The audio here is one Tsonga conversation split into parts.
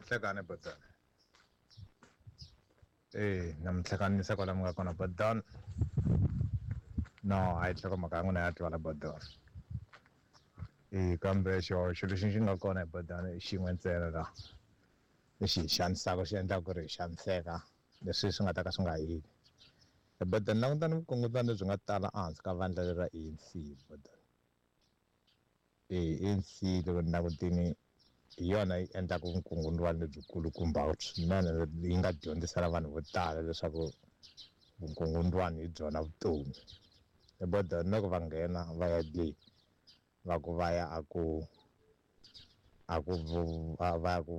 Nhlekani Bodan. Na minhlekanisa kwala mi nga kona Bodan. No, a yi nhlokomhaka ya n'wina ya twala Bodan. Kambe xihoxo lexi xi nga kona hi Bodan i xin'we ntsena la lexi hi xanisaka xi endlaka ku ri hi xaniseka leswi swi nga ta ka swi nga heli. Bodan langutani vukungundzwana lebyi nga tala ehansi ka vandla leri ra ANC Bodan. ANC loko ni langutini hi yona yi endlaka vukungundzwana lebyikulukumba swinene yi nga dyondzisa na vanhu vo tala leswaku vukungundzwana hi byona vutomi. Bodan loko va nghena va ya le va ku va ya a ku va ya ku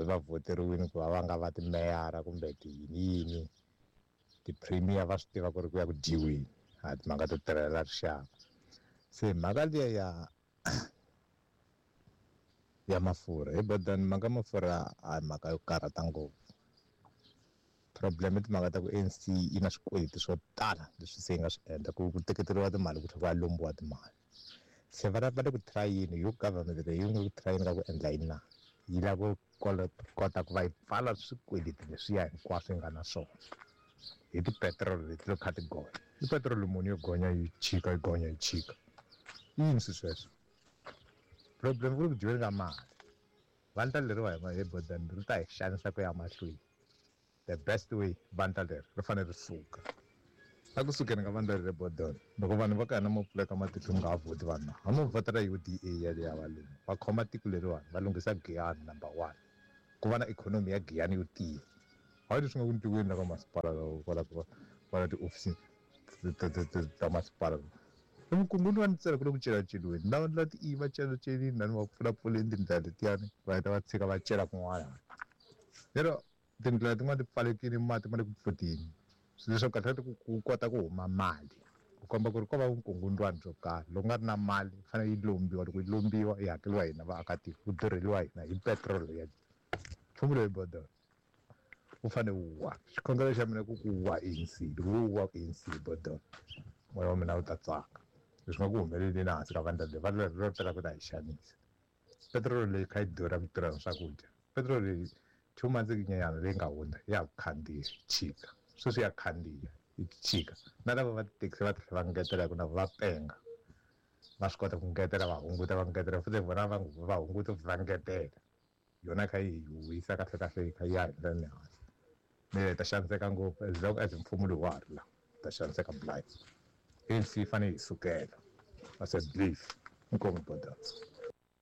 va voteriwini ku va va nga va timeyara kumbe tiyini ti-premier va swi tiva ku ri ku ya ku dyiweni a timhaka to tirhela rixaka. Se mhaka liya ya mafurha hi Bodan mhaka mafurha a hi mhaka yo karhata ngopfu. Problem i timhaka ta ku ANC yi na swikweleti swo tala leswi se yi nga swi endla ku teketeriwa timali ku tlhela ku ya lombiwa timali. Se va le ku try-ini yo government leyi yi nga ku try-ini ka ku endla yini na yi lava ku kota ku va yi pfala swikweleti leswiya hinkwaswo yi nga na swona hi tipetiroli leti to kha ti gonya. I petiroli muni yo gonya yi chika yi gonya yi chika i yini swi sweswo? Problem ku ri ku dyiweni ka mali. Vandla leriwa hi Bodan ri ta hi xanisa ku ya mahlweni. The best way vandla leri ri fanele ri suka. A ku sukeni ka vandla leri Bodan loko vanhu va ka hina mo pfuleka matihlo mi nga ha vhoti vanhu a mo vhotela UDA yaleyo ya valungu va khoma tiko leriwani va lunghisa Giyani number 1 ku va na ikhonomi ya Giyani yo tiya. Hayi leswi nga ku ntiweni la ka masipala kwala kwala tiofisini ta masipala. Vukungundzwana ntsena ku le ku celaceliweni lava la ti va celacelini lani va pfulapfuleni tindlela letiyani va heta va tshika va cela kun'wana. Lero tindlela tin'wana ti pfalekile mati ma le ku pfutini swilo leswaku kahle ku kota ku huma mali ku komba ku ri ko va vukungundzwana byo karhi. Loko nga ri na mali yi fanele yi lombiwa, loko yi lombiwa yi hakeriwa hina vaakatiko ku durheliwa hina hi petiroli ya nchumu loyi Bodan wu fanele wu wa. Xikhongelo xa mina ku ku wa ANC, loko wu wa ANC Bodan moya wa mina wu ta tsaka. Leswi nga ku humeleleni ehansi ka vandla leri vandla leri ro tala ku ta hi xanisa. Petiroli leyi kha yi durha ku tirha swakudya. Petiroli leyi 2 months nyana leyi nga hundza ya ku khandziya chika sweswi ya khandziya yi chika na lava va tithekisi va tlhela va ngetela ku na va penga va swi kota ku ngetela va hunguta va ngetela futhi vona va hunguta va ngetela yona kha yi wisa kahle kahle kha ya henhla ni hansi. Mina ta xaniseka ngopfu as long as mfumo lowu wa ha ri la ta xaniseka blind. ANC yi fanele yi sukela. That's a belief. Inkomu Bodan.